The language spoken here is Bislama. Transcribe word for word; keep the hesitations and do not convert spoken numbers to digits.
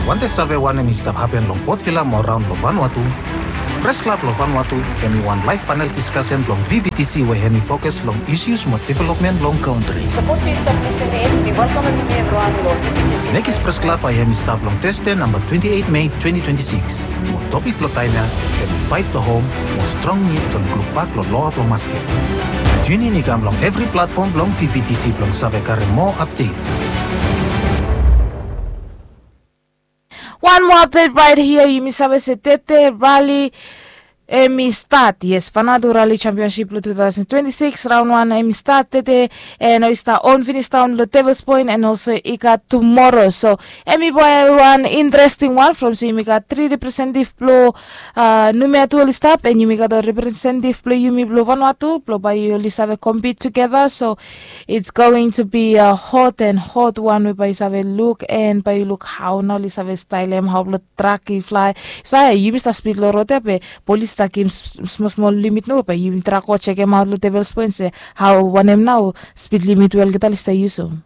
Wantem save wanem i stap hapen long Port Vila mo raon long Vanuatu? Pres Klab long Vanuatu hem i wan laev panel diskasen blong V B T C we hem i fokus long isus mo developmen long kantri. Sapos yu stap lisin in, mi welkamem yumi evriwan long V B T C. Nekis Pres Klab bae hem i stap long Tasde namba twenti eit Mei twenti twenti sikis. Mo topik blong taem ya hem i Faet long Hom mo strong nid blong lukluk bak long loa blong masket. Tiunin i kam long evri platfom blong V B T C blong save karem moa apdet. Wan moa apdet raet hia, yumi save se Tete rali hem i stat. Yes, Vanuatu Rali Championship blong two thousand twenty-six raon wan hem i stat tete, and oli stap on finis daon long Devils Point, and also i gat tumoro. So hem i bae wan interesting wan from se yumi gat tri representetiv blong Numea tu oli stap, and yumi gat ol representetiv blong yumi blong Vanuatu blong bae oli save compete together. So it's going to be a hot and hot one we bae yu save luk, and bae yu luk hao nao oli save staelem hao blong trak i flae. Sae yumi stap spid long rod ya be polis stap givim smol smol limit nao, bae yumi trak go jekemaot long Devils Point se hao wanem nao spid limit we olgeta oli stap yusum.